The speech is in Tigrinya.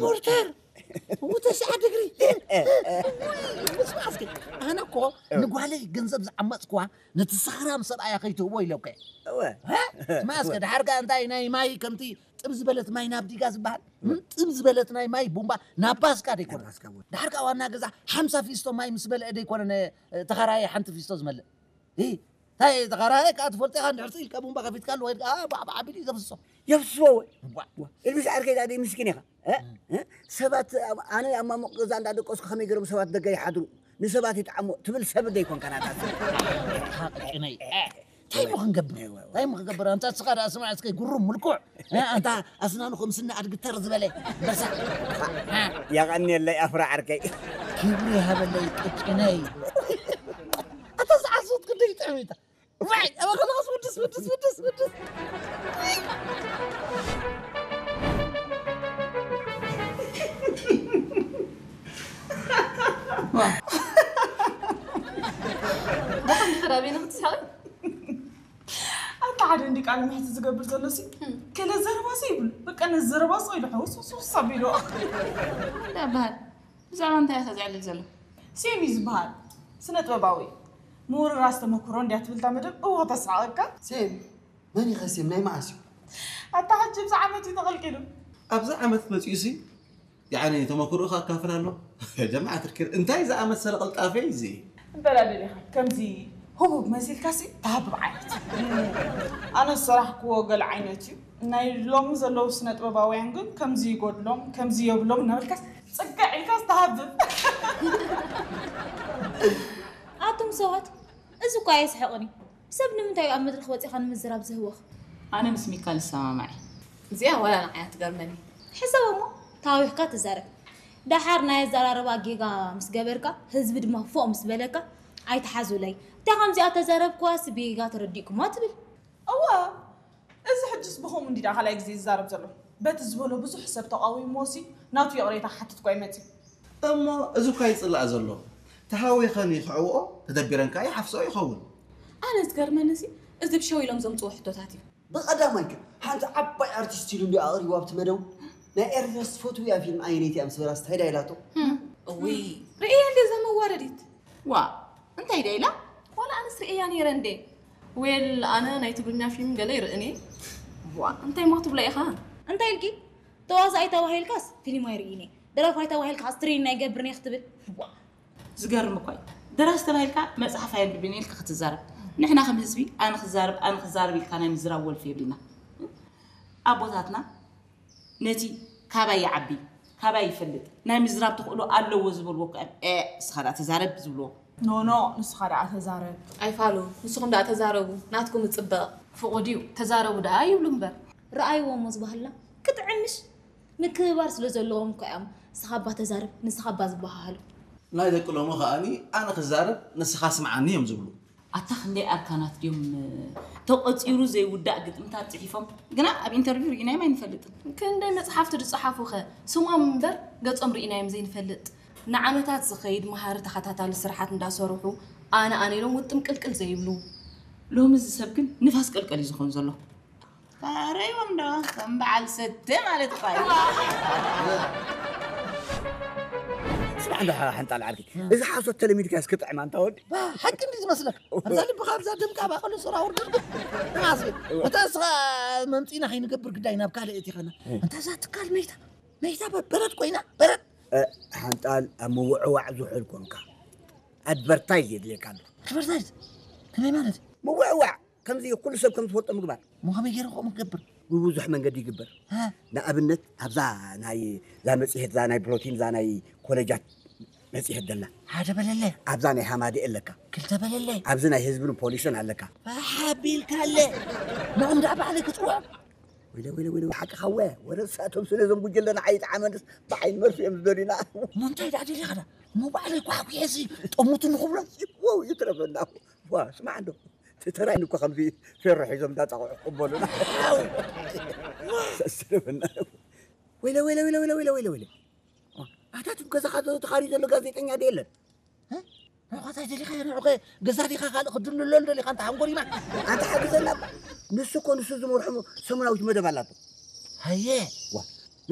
ፖርተር፣ እው፣ ተስዓ ድግሪ። ስማ እስኪ፣ ኣነ እኮ ንጓለይ ገንዘብ ዝዓመፅኩዋ ነቲ ሰኽራም ሰብኣያ ከይትህቦ ኢለኩ። እወ። ስማ እስከ፣ ድሓር ከኣ እንታይ ናይ ማይ ከምቲ ጥብ ዝበለት ማይ ናብ ዲጋ ዝበሃል? ጥብ ዝበለት ናይ ማይ ቡምባ ናብ ባስካ ደይኮነ? ናብ ባስካ እውን። ድሓር ከኣ ዋና ገዛ ሓምሳ ፊስቶ ማይ ምስ በልዐ ደይኮነ ነ-፣ ተኸራየ ሓንቲ ፊስቶ ዝመልእ? እ፣ እንታይ ተኸራየ ከኣ ትፈልጦ ኢኻ፣ እንድሕር ኢልካ ቡምባ ከፊትካሉ ወይ ከኣ ባዕ ባዕ ኣቢሉ እዩ ዘፍስሶ። የፍስሶ ወይ? ዋ። ዋ። ኢልቢስ ዓርከይ፣ ዳኣ ደይ ምስኪን ኢኻ። እ? እ? ሰባት ኣብ-፣ ኣነ ኣብ ማሙቕ ገዛ እንዳደቀስኩ ከመይ ገይሮም ሰባት ደገ ይሓድሩ? ንሰባት ይጥዓሞ ትብል ሰብ ደይኮንካ ናታ ሰብ። ሓቂ ጭነይ። እንታይ እሞ ክንገብር? እንታይ እሞ ክንገብር? ኣንታ እስኻ ደኣ ስማዕ እስከ ጉሩም ምልኩዕ። እ? ኣንታ ኣስናኑ ከም ስኒ ኣድጊ ተር ዝበለ። በሳ። እ? የቐንየለይ ኣፍራ ዓርከይ። ክብሪ ይሃበለይ ቅጭነይ። ኣታ ዝዓሶት ክንደይ ጥዕሚታ። ዋይ፣ ኣበ ከለኸስ ውድስ፣ ውድስ፣ ውድስ፣ ውድስ። ዋ። ብኸም ድሕር ኣበይ ንኽትስሕቂ? ኣታ ሓደ እንዲ ቃለ መሕትት ዝገብር ዘሎ ሲ፣ እም። ገለ ዘረባ ሲ ይብሉ። በቃ ነዚ ዘረባ ሲ ኢሉ ሕውስ ውስ ውስ ኣቢሉ። እንታይ ይበሃል? ብዛዕባ እንታይ ኢኻ ዘዕልል ዘሎ? ሴም እዩ ዝበሃል። ስነ ጥበባዊ። ምውርራስ ተመክሮ እንድያ ትብል እታ መደብ። እወ ተስሓቐካ። ሴም? መን ኢኸ ሴም? ናይ መዓስ እዩ? ኣታ ሕጂ ኣብዚ ዓመት እዩ ተቐልቂሉ። ኣብዚ ዓመት መጺኡ ሲ? ያዕኒ ተመክሮኡ ከካፍል ኣሎ። ጀማዓት ርኪር፣ እንታይ ዝኣመሰለ ቅልጣፈ እዩ እዚ? እንተ ደኣ ደሊኻ፣ ከምዚ ህቡብ መሲልካ ሲ ተሃብብ ዓይነት። ኣነ ዝሰራሕክዎ ገለ ዓይነት እዩ። ናይ ሎሚ ዘለዉ ስነ ጥበባውያን ግን ከምዚ ይጎድሎም፣ ከምዚ የብሎም እናበልካስ ጽግዕ ኢልካስ ተሃብብ። ኣቱም ሰባት፣ እዚ እኮ ኣየስሕቕን እዩ። ሰብ ንምንታይ እዩ ኣብ መድረኽ ወጺኻ ንምዝራብ ዝህወኽ? ኣነ ምስ ሚካል እሰማማዕ እየ። እዚኣ ዋላ ንዓይ እያ ትገርመኒ። ሕሰብ እሞ፣ ተሃዊኽካ ትዛረብ። ደሓር ናይ ኣዘራርባ ጌጋ ምስ ገበርካ፣ ህዝቢ ድማ ፎእ ምስ በለካ፣ ኣይትሓዙለይ። እታ ከምዚኣ ተዛረብክዋስ ብጌጋ ተረዲእኩማ ትብል። እወ፣ እዚ ሕጅስ ብኸምኡ እንዲ ደኣ ካልኣይ ግዜ ዝዛረብ ዘሎ። በቲ ዝበሎ ብዙሕ ሰብ ተቓዊምዎ ሲ ናቱ ይቕሬታ ክሓትት እኳ ይመጽእ። እሞ እዚ እኳ ይጽላእ ዘሎ። ተሃዊኸን ይኽዕብኦ፣ ተደቢረን ከኣ ይሓፍስኦ ይኸውን። ኣነ ዝገርመኒ ሲ እዚ ብሸው ኢሎም ዘምጽዎ ሕቶታት እዩ። ብቐዳማይ ግን ሓንቲ ዓባይ ኣርቲስት ኢሉ እንዲ ኣቕሪቡ ኣብቲ መደቡ ናይ ኤርትራ ዝፈትውያ ፊልም ኣየነይቲ እያ ምስ በላ እንታይ ዳ ኢላቶ? እውይ፣ ርእየ እንደ እዛ መዋረዲት። ዋ፣ እንታይ ዳ ኢላ? ዋላ ኣነስ ርእያ ነይረ እንዴ? ዌል፣ ኣነ ናይ ትግርኛ ፊልም ገለ ይርእን እየ። ዋ፣ እንታይ እሞ ክትብላ ኢኻ? እንታይ ኢልኪ? ተዋሳኣይ ተባሂልካስ ፊልም ኣይርእይን እየ። ደራፋይ ተባሂልካስ ትሬኒንግ ኣይገብርን እየ ክትብል? ዋ። ዝገርም እኳ እዩ። ደራሲ ተባሂልካ መጽሓፍ ኣየንብብን እየ ኢልካ ክትዛረብ። ንሕና ከም ህዝቢ ኣነ ክዛረብ፣ ኣነ ክዛረብ ኢልካ ናይ ምዝራብ ወልፊ የብልና። ኣቦታትና ነቲ ካባይ ይዓቢ፣ ካባይ ይፈልጥ፣ ናይ ምዝራብ ተኽእሎ ኣለዎ ዝበልዎ እኮ እዮም። ኤ፣ ንስኻ ደኣ ተዛረብ ዝብልዎ። ኖ፣ ኖ፣ ንስኻ ደኣ ተዛረብ። ኣይፋሉ፣ ንስኹም ደኣ ተዛረቡ፣ ናትኩም እጽበቕ። ፍቑድ እዩ፣ ተዛረቡ ደኣ ይብሉ እምበር። ረኣይዎ እሞ እዚ ባህልና ክጥዕም ምሽ? ምክብባር ስለ ዘለዎም እኮ እዮም ንስኻ እባ ተዛረብ፣ ንስኻ እባ ዝበሃሃሉ። ናይ ደቂ ሎሚ ከኣኒ ኣነ ክዛረብ፣ ንስኻ ስምዓኒ እዮም ዝብሉ። ኣታ ክንደይ ኣርካናት ድዮም ተቖጺሩ ዘይውዳእ ግጥምታት ጽሒፎም፣ ግና ኣብ ኢንተርቪው ርኢናዮም ኣይንፈልጥን። ክንደይ መጽሓፍቲ ዝጸሓፉኸ ስሞም እምበር ገጾም ርኢናዮም ዘይንፈልጥ። ንዓመታት ዝኸይድ መሃሪ ተኸታታሊ ስርሓት እንዳሰርሑ ኣነ ኣነ ኢሎም ውጥም ቅልቅል ዘይብሉ። ሎሚ እዚ ሰብ ግን ንፋስ ቀልቀል እዩ ዝኾን ዘሎ። ታረዮም ዶ ከም በዓል ሰተ ማለት እኳ እዩ። ስማዕ እንዶ ሓንጣል ዓርኪ፣ እዚ ሓሶት ተለሚድካስ ክጥዕም ኣንታ ወዲ። ባ፣ ሓቂ እንዲ ዝመስለካ። ኣብዛ ልብኻ፣ ኣብዛ ደምካ፣ ኣብ ኣቐሉ ሱራ ውርድርግ። ተማስገን። እታ እስኻ መምጺእና ከይንገብር ግዳይ ናብ ካልእ እቲኸና። እንታ እዛ ትካል መይታ፣ መይታ በ-፣ በረድ ኮይና፣ በረድ። እ፣ ሓንጣል ኣብ ምውዕዋዕ ዝውዕል ኮንካ። ኣድቨርታይዝ የድልየካ ኣሎ። ኣድቨርታይዝ? ከመይ ማለት? ምውዕዋዕ፣ ከምዚ ኩሉ ሰብ ከም ዝፈልጦ ምግባር። እሞ ከመይ ገይረ ከምኡ ክገብር? ብብዙሕ መንገዲ ይግበር። እ? ንኣብነት፣ ኣብዛ ናይ፣ እዛ መጽሔት፣ እዛ ናይ ፕሮቲን፣ እዛ ናይ ኮለጃት መጽሔት ደላ። ሓደ በለለ። ኣብዛ ናይ ሃማደኤ ኣለካ። ክልተ በለለ። ኣብዚ ናይ ህዝብን ፖሊስን ኣለካ። ኣሓቢልካ ኣለ። ኖም ደኣ ባዕለይ ክጽውዖም። ወይለ፣ ወይለ፣ ወይለ፣ ሓቅኻ ወ-፣ ወረ ንሳቶም ስለ እዞም ጉጅለ ንዓይ ይጥዓመንስ ብዓይኒ መርፍኦም ዝደልዩና። እሞ እንታይ ደኣ ደሊኻ ደኣ? እሞ ባዕለይ ኳሕኲሐሲ ጠሙቱ ንኽብሎም። ይወው ይትረፈና። ዋ፣ ስማዕ እንዶ። እቲ ተራይን እኮ ከምዚ ፌሮ ሒዞም እንዳጻቕዑ ክቕበሉና። ሓው! ሰስርብና። ወይለ፣ ወይለ፣ ወይለ። ኣታ እቲ ገዛኻ ተኻርዩ ዘሎ ጋዜጠኛ ዶ የለን? እ? ንዕኻ እንታይ ደሊኻ? ንዕኸ ገዛ ዲኻ ካልእ ክድልሎ ደሊኻ? ኣንታ ሓንጎሊማ። ኣንታ ሓግዘና እባ። ንሱ እኮ ንሱ ዝመርሖ ሰሙናዊት መደብ ኣላቶ። ሃየ። ዋ፣